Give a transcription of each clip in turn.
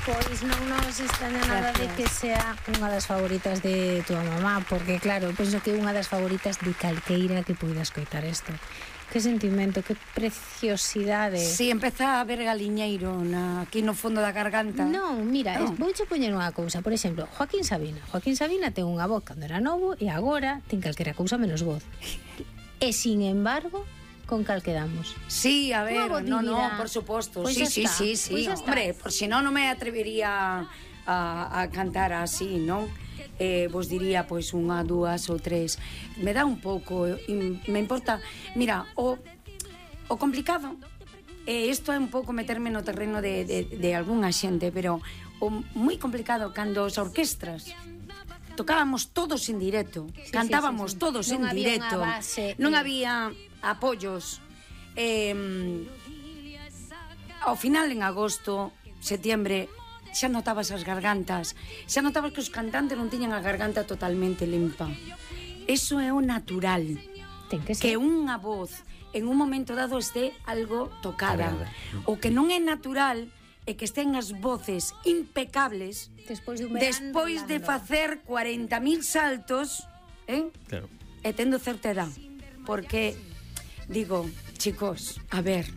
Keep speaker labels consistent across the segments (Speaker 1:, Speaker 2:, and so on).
Speaker 1: Pois non nos extraña nada de que sea unha das favoritas de tua mamá, porque claro, penso que é unha das favoritas de calqueira que poida escoitar isto. Que sentimento, que preciosidade.
Speaker 2: Si, empeza a ver galiñeiro aquí no fondo da garganta.
Speaker 1: Non, mira, vouche poñer unha cousa. Por exemplo, Joaquín Sabina. Joaquín Sabina ten unha voz cando era novo e agora ten calquera cousa menos voz. E, sin embargo, con cal quedamos.
Speaker 2: Sí, a ver, no, por suposto.
Speaker 1: Pues
Speaker 2: sí.
Speaker 1: Pues
Speaker 2: hombre, por si non me atrevería a cantar así, non? Vos diría, pois, unha, dúas ou tres. Me dá un pouco, me importa. Mira, o complicado, isto é un pouco meterme no terreno de algunha xente, pero o moi complicado cando as orquestras tocábamos todos en directo, cantábamos todos en directo, non había apoios. Ao final, en agosto, setembro, xa notabas as gargantas, xa notabas que os cantantes non tiñan a garganta totalmente limpa. Eso é o natural, que unha voz en un momento dado este algo tocada. O que non é natural é que estén as voces impecables despois de facer 40.000 saltos,
Speaker 3: claro,
Speaker 2: e tendo certa edad. Porque, digo, chicos, a ver,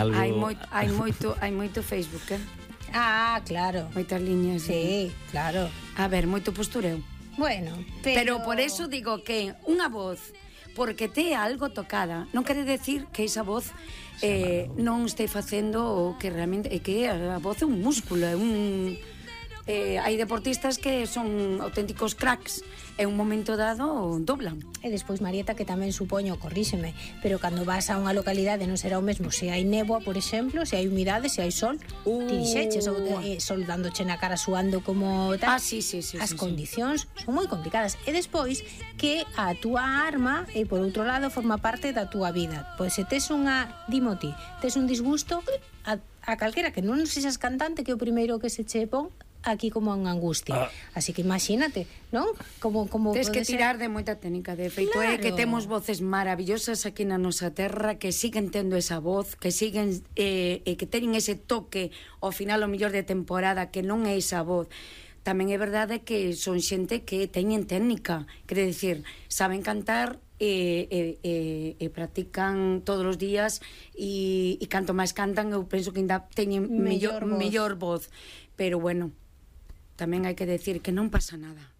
Speaker 2: hai moito Facebook,
Speaker 1: Ah, claro.
Speaker 2: Moitas liñas.
Speaker 1: Sí, claro.
Speaker 2: A ver, moito postureo.
Speaker 1: Bueno,
Speaker 2: pero por eso digo que unha voz, porque te algo tocada, non quere decir que esa voz non este facendo o que realmente é que a voz é un músculo, é un hai deportistas que son auténticos cracks e un momento dado doblan.
Speaker 1: E despois, Marieta, que tamén supoño, corríxeme, pero cando vas a unha localidade non será o mesmo se hai néboa, por exemplo, se hai humidade, se hai sol, ti dixeches, ou sol dándoche na cara suando como tal.
Speaker 2: Sí.
Speaker 1: As condicións son moi complicadas. E despois que a túa arma, e por outro lado, forma parte da túa vida. Pois se tes unha, dimo ti, tes un disgusto, a calquera que non sexas cantante, que é o primeiro que se che pon aquí como unha angustia. Así que imagínate, non? Como
Speaker 2: tes que tirar de moita técnica. De feito, é que temos voces maravillosas aquí na nosa terra, que siguen tendo esa voz, que siguen que teñen ese toque ao final, o mellor de temporada, que non é esa voz. Tamén é verdade que son xente que teñen técnica, quere dicir, saben cantar e practican todos os días e canto máis cantan, eu penso que ainda teñen mellor voz. Pero bueno, tamén hai que decir que non pasa nada.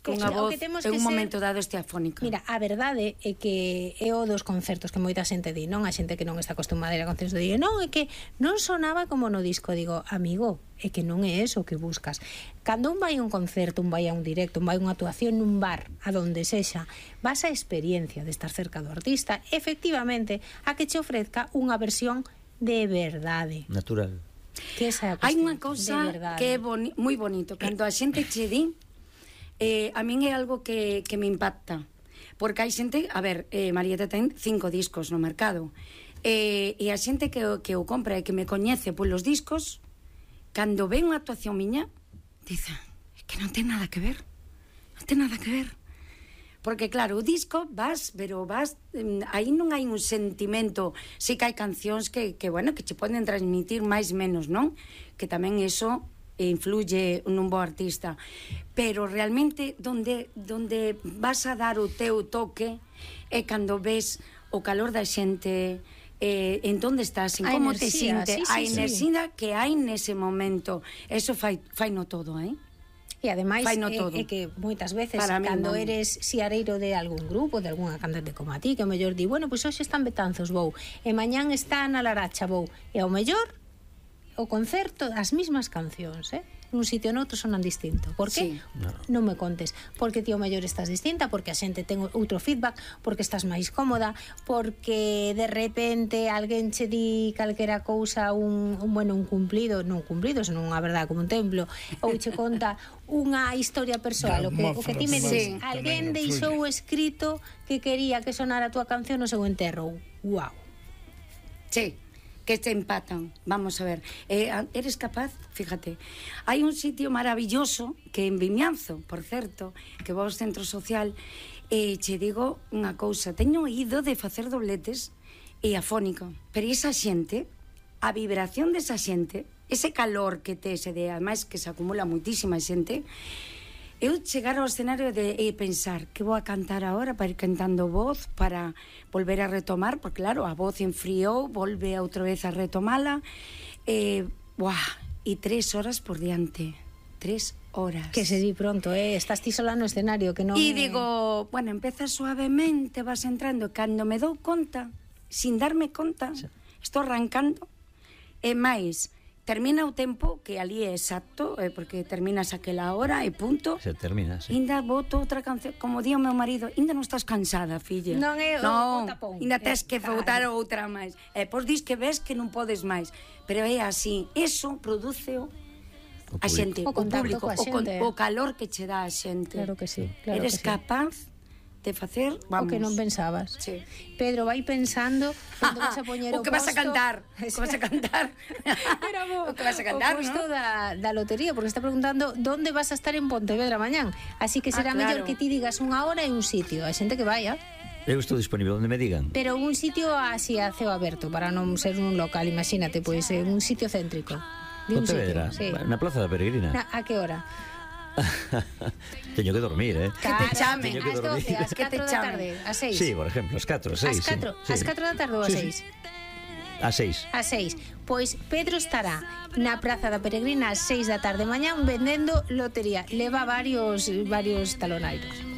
Speaker 2: Que unha voz en un momento dado este afónica.
Speaker 1: Mira, a verdade é que é o dos concertos que moita xente di, non? A xente que non está acostumada a ir a concertos di, non, é que non sonaba como no disco. Digo, amigo, é que non é eso que buscas. Cando un vai a un concerto, un vai a un directo, un vai a unha actuación nun bar, a donde sexa, vas a experiencia de estar cerca do artista, efectivamente, a que che ofrezca unha versión de verdade.
Speaker 3: Natural.
Speaker 2: Hai unha cousa que é moi bonito, cando a xente che di, a min é algo que me impacta, porque hai xente, a ver, Marieta ten 5 discos no mercado, e a xente que o compra e que me coñece polos discos, cando ve unha actuación miña, dice, é que non ten nada que ver, porque claro, o disco pero vas, aí non hai un sentimento. Si que hai cancións que bueno, que che poden transmitir máis menos, non? Que tamén eso influye nun bo artista, pero realmente donde vas a dar o teu toque é cando ves o calor da xente, en onde estás, en como te sientes, a enerxía que hai nese momento. Eso fai no todo,
Speaker 1: E ademais é que moitas veces cando eres xiareiro de algún grupo, de algunha cantante como a ti, que ao mellor di, bueno, pois hoxe están Betanzos, vou, e mañán está na Laracha, vou, e ao mellor o concerto, as mismas cancións, nun sitio ou noutro sonan distinto. Por que? Non me contes. Porque ti ao mellor estás distinta, porque a xente ten outro feedback, porque estás máis cómoda, porque de repente alguén che di calquera cousa, un cumplido, non cumplido, senón unha verdade como un templo, ou che conta unha historia persoal, o que ti me dis, alguén deixou escrito que quería que sonara a túa canción no seu enterro. Guau.
Speaker 2: Sí, que te empatan. Vamos a ver, eres capaz, fíjate, hai un sitio maravilloso que en Vimianzo, por certo, que vou ao centro social, e che digo unha cousa, teño ido de facer dobletes e afónico, pero esa xente, a vibración desa xente ese calor que tes, e ademais que se acumula moitísima xente, eu chegar ao escenario de pensar que vou a cantar agora para ir cantando voz, para volver a retomar, porque claro, a voz enfriou, volve outra vez a retomala, e 3 horas por diante, 3 horas.
Speaker 1: Que se di pronto, estás ti sola no escenario, que non...
Speaker 2: E digo, bueno, empeza suavemente, vas entrando, cando me dou conta, sin darme conta, estou arrancando, e máis... Termina o tempo, que ali é exacto, porque terminas aquela hora e punto.
Speaker 3: Se termina, sí.
Speaker 2: Inda boto outra canción, como di o meu marido, inda non estás cansada, filla.
Speaker 1: Non é o tapón.
Speaker 2: Inda tes que botar outra máis. Pois dis que ves que non podes máis. Pero é así, eso produce a xente, o público, o calor que che dá a xente.
Speaker 1: Claro que sí, claro.
Speaker 2: Eres capaz de facer, vamos,
Speaker 1: o que non pensabas.
Speaker 2: Sí.
Speaker 1: Pedro, vai pensando onde vas a poñer o
Speaker 2: que vas a cantar. O que vas a cantar. O que vas a cantar,
Speaker 1: o posto, ¿no? da lotería, porque está preguntando onde vas a estar en Pontevedra mañán. Así que será mellor que ti digas unha hora e un sitio. Hai xente que vai,
Speaker 3: Eu estou disponible onde me digan.
Speaker 1: Pero un sitio así a ceo aberto, para non ser un local, imagínate, pois un sitio céntrico.
Speaker 3: Pontevedra,
Speaker 1: sí.
Speaker 3: Na Plaza da Peregrina.
Speaker 1: A que hora?
Speaker 3: Teño que dormir,
Speaker 2: Que te chamen.
Speaker 3: Teño que dormir.
Speaker 1: Ás 4 da tarde, a 6.
Speaker 3: Sí, por exemplo, ás 4, 6.
Speaker 1: Ás 4 da tarde ou a 6?
Speaker 3: A 6.
Speaker 1: A 6. Pois Pedro estará na Praza da Peregrina ás 6 da tarde mañán vendendo lotería. Leva varios talonairos.